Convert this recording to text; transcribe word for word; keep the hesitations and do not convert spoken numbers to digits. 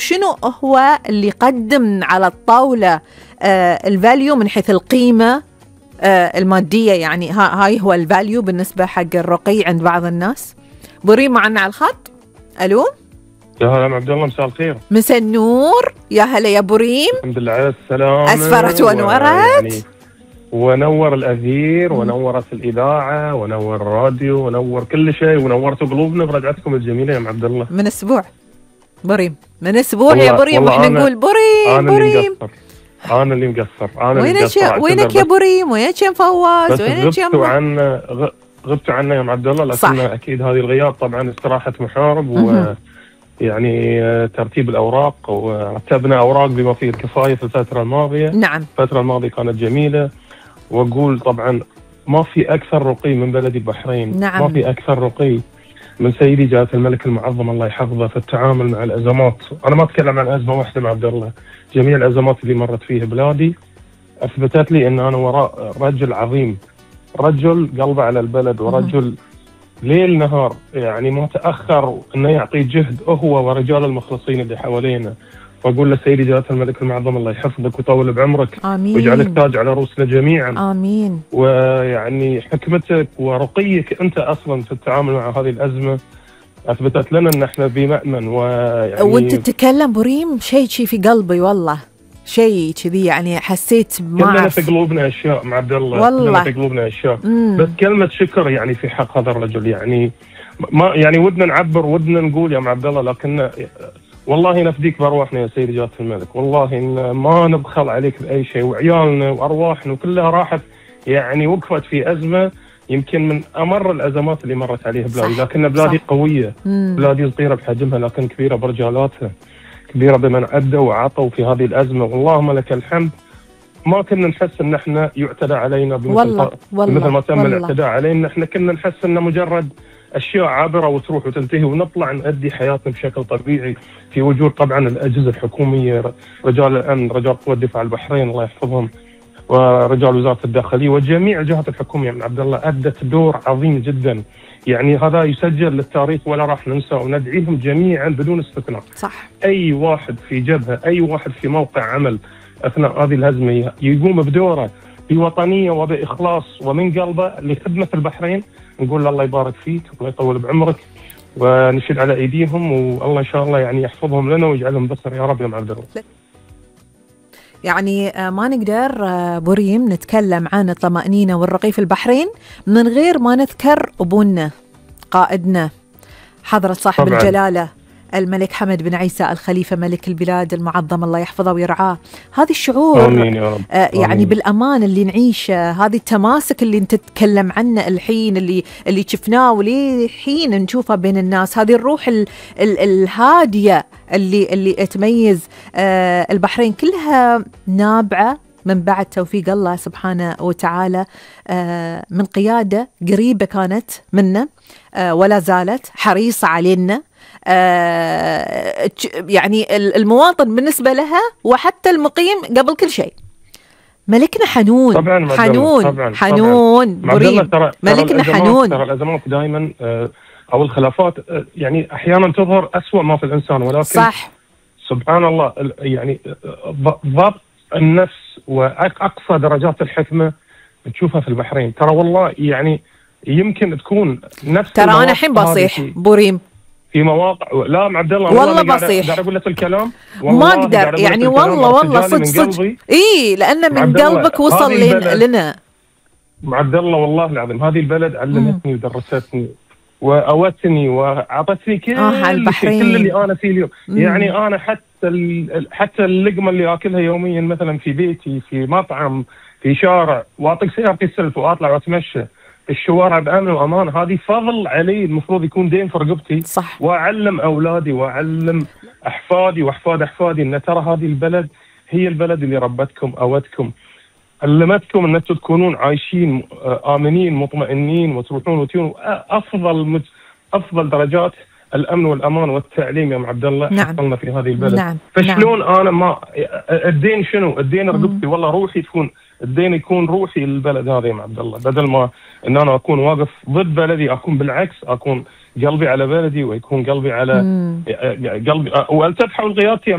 شنو هو اللي يقدم على الطاولة آه الفاليو من حيث القيمة آه المادية، يعني هاي هو الفاليو بالنسبة حق الرقي عند بعض الناس. بريم معنا على الخط. ألو يا هلا ام عبد الله، مساء الخير. مساء النور، يا هلا يا بريم. الحمد لله على السلامة. أسفرت ونورت يعني ونور الأثير ونورت الإذاعة ونور الراديو ونور كل شيء ونورتوا قلوبنا برجعتكم الجميلة يا ام عبد الله. من أسبوع بريم، من أسبوع يا بريم واحنا نقول بريم أنا بريم. اللي مقصر أنا اللي مقصر أنا اللي وينك مقصر. وينك يا بريم؟ وينك يا مفوز؟ وينك يا غبتوا عنا غبتوا عنا يا ام عبد الله، لكن صح. أكيد هذه الغياب طبعا استراحة محارب و يعني ترتيب الأوراق، ورتبنا أوراق بما فيه الكفاية في الفترة الماضية. نعم الفترة الماضية كانت جميلة، وأقول طبعا ما في أكثر رقي من بلد البحرين. نعم. ما في أكثر رقي من سيدي جلالة الملك المعظم الله يحفظه في التعامل مع الأزمات. أنا ما أتكلم عن أزمة واحدة مع عبد الله، جميع الأزمات اللي مرت فيها بلادي أثبتت لي أن أنا وراء رجل عظيم، رجل قلبه على البلد، ورجل ليل نهار يعني ما تأخر أنه يعطي جهد هو ورجال المخلصين اللي حوالينا. وأقول لسيدي جلالة الملك المعظم الله يحفظك ويطول بعمرك، آمين، ويجعلك تاج على رؤوسنا جميعا. آمين. ويعني حكمتك ورقيك أنت أصلا في التعامل مع هذه الأزمة أثبتت لنا أن احنا بمأمن. ويعني وأنت تتكلم بريم شيء شيء في قلبي والله، شيء كذي يعني حسيت ما كلنا في قلوبنا أشياء مع عبد الله، والله كلنا في قلوبنا أشياء. مم. بس كلمة شكر يعني في حق هذا الرجل، يعني ما يعني ودنا نعبر ودنا نقول يا عبد الله، لكن والله نفديك بأرواحنا يا سيدي جلالة الملك، والله إن ما نبخل عليك بأي شيء، وعيالنا وأرواحنا كلها راحت يعني وقفت في أزمة يمكن من أمر الأزمات اللي مرت عليها بلادي. لكن بلادي صح. قوية. مم. بلادي صغيرة بحجمها لكن كبيرة برجالاتها، كبيرة بمن أدوا وعطوا في هذه الأزمة، واللهم لك الحمد. ما كنا نحس ان احنا يعتدى علينا بمثل, والله. والله. بمثل ما تم والله. الاعتداء علينا. احنا كنا نحس انه مجرد اشياء عابره وتروح وتنتهي، ونطلع نؤدي حياتنا بشكل طبيعي في وجود طبعا الاجهزه الحكوميه، رجال الامن، رجال قوى الدفاع البحرين الله يحفظهم، ورجال وزاره الداخليه، وجميع الجهات الحكوميه من عبد الله ادت دور عظيم جدا. يعني هذا يسجل للتاريخ ولا راح ننسى، وندعيهم جميعا بدون استثناء. صح. اي واحد في جبهه، اي واحد في موقع عمل اثناء هذه الهزمه يقوم بدوره بوطنيه وباخلاص ومن قلبه لخدمه البحرين، نقول له الله يبارك فيك والله يطول بعمرك، ونشد على ايديهم، والله ان شاء الله يعني يحفظهم لنا ويجعلهم بصر يا رب يا عبد الله. يعني ما نقدر بريم نتكلم عن الطمأنينة والرقي في البحرين من غير ما نذكر أبونا قائدنا حضرة صاحب طبعاً. الجلالة الملك حمد بن عيسى الخليفة ملك البلاد المعظم الله يحفظه ويرعاه. هذه الشعور آمين يا رب. آه يعني آمين. بالأمان اللي نعيشه، هذه التماسك اللي انت تتكلم عنه الحين، اللي اللي شفناه ولحين نشوفه بين الناس، هذه الروح ال ال الهادية اللي اللي تميز آه البحرين، كلها نابعة من بعد توفيق الله سبحانه وتعالى، آه من قيادة قريبة كانت منا آه ولا زالت حريصة علينا. آه يعني المواطن بالنسبة لها وحتى المقيم قبل كل شيء. ملكنا حنون طبعاً حنون طبعاً حنون طبعاً. بريم ترى ملكنا ترى حنون. ترى الأزمات دائما أو الخلافات يعني أحيانا تظهر أسوأ ما في الإنسان، ولكن صح سبحان الله يعني ضبط النفس وأقصى درجات الحكمة تشوفها في البحرين. ترى والله يعني يمكن تكون نفس ترى أنا الحين بصيح بريم في مواقع. لا مع عبد الله والله بصيح، قاعد اقول لك الكلام ما اقدر يعني والله والله صدق صدق اي لانه من قلبك وصل لنا مع عبد الله. والله العظيم هذه البلد علمتني ودرستني واوتني واعطتني كل آه كل اللي انا فيه اليوم. مم. يعني انا حتى حتى اللقمه اللي اكلها يوميا مثلا في بيتي، في مطعم، في شارع، واعطيك سيارتي السلف واطلع واتمشى الشوارع بأمن وأمان، هذه فضل علي المفروض يكون دين في رقبتي. صح. وأعلم أولادي وأعلم أحفادي وأحفاد أحفادي أن ترى هذه البلد هي البلد اللي ربتكم أوتكم، علمتكم أن تكونون عايشين آمنين مطمئنين، وتروحون وتيون أفضل مت... أفضل درجات الأمن والأمان والتعليم يا ام عبد الله. نعم. حصلنا في هذه البلد. نعم. فشلون نعم. أنا ما الدين شنو؟ الدين رقبتي، والله روحي تكون الدين يكون روحي للبلد هذا يا عبد الله، بدل ما ان انا اكون واقف ضد بلدي اكون بالعكس اكون قلبي على بلدي ويكون قلبي على مم. قلبي والتفحوا الغياث